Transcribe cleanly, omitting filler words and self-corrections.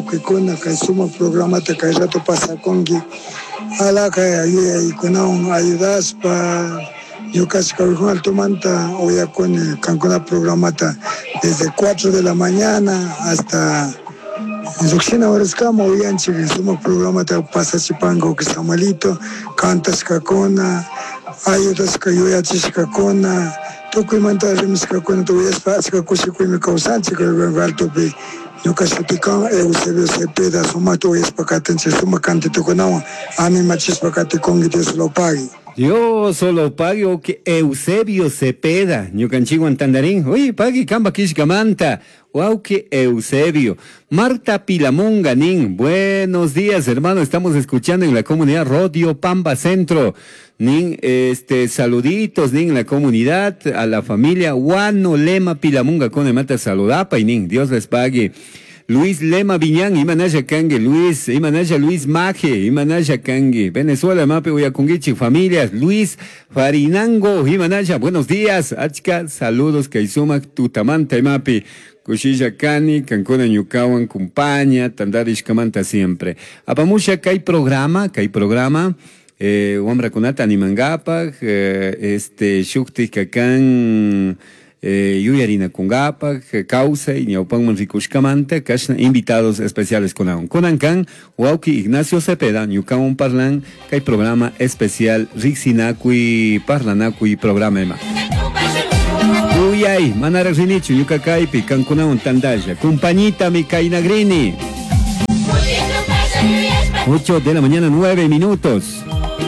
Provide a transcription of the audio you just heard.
Tucuicuna cai sumaj programata cai rato pasacungui alhaja yuyaicunahuan ayudashpa ñucashi Callejón Altomanta uyacuni cancuna programata desde cuatro de la mañana hasta llujshina horascama uyanchij sumaj programata pasachipanga Samuelito cantashcacuna ayudashca yuyachishcacuna tucuimanta rimashcacunata uyashpa achca cushicuymi causanchij Altopi. Ñuca shutica Eusebio Cepeda, sumajta uyashpa catinchij, sumaj cantitocunahuan animachishpa caticungui Dios lo pague. Dios lo pague wauki Eusebio Cepeda, ñucanchikwan tandarin, uy pagui kamba killkamanta, wauki Eusebio. Marta Pilamunga nin, buenos días hermano, estamos escuchando en la comunidad Rodio Pamba Centro. Nin, este, saluditos, nin, la comunidad, a la familia Guano Lema Pilamunga con mata saludapa y nin, Dios les pague. Luis Lema Viñán, imanalla kangi, Luis, imanalla Luis Maje, imanalla kangi, Venezuela, mapi uyakungichi, familias, Luis Farinango, imanalla, buenos días, achka, saludos, kay sumak tutamanta, imapi, kushilla kani, kankuna ñukawan, kumpaña, tandarishkamanta siempre. Apamusha kay programa, kay programa, wamrakunata animankapak, este, shuktik kan, yuyarinakunkapak, kawsay ñawpanman rikushkamanta, kashna invitados especiales kunawan. Kunan kan, wawki Ignacio Cepeda, ñukawan parlan, kay programa especial Riksinakuy, Parlanakuy programa ima. Uyay, manaraq rinichu, ñuka kaypi, kankunawan tandalla. Compañita mi kainagrini. 8 de la mañana, 9 minutos.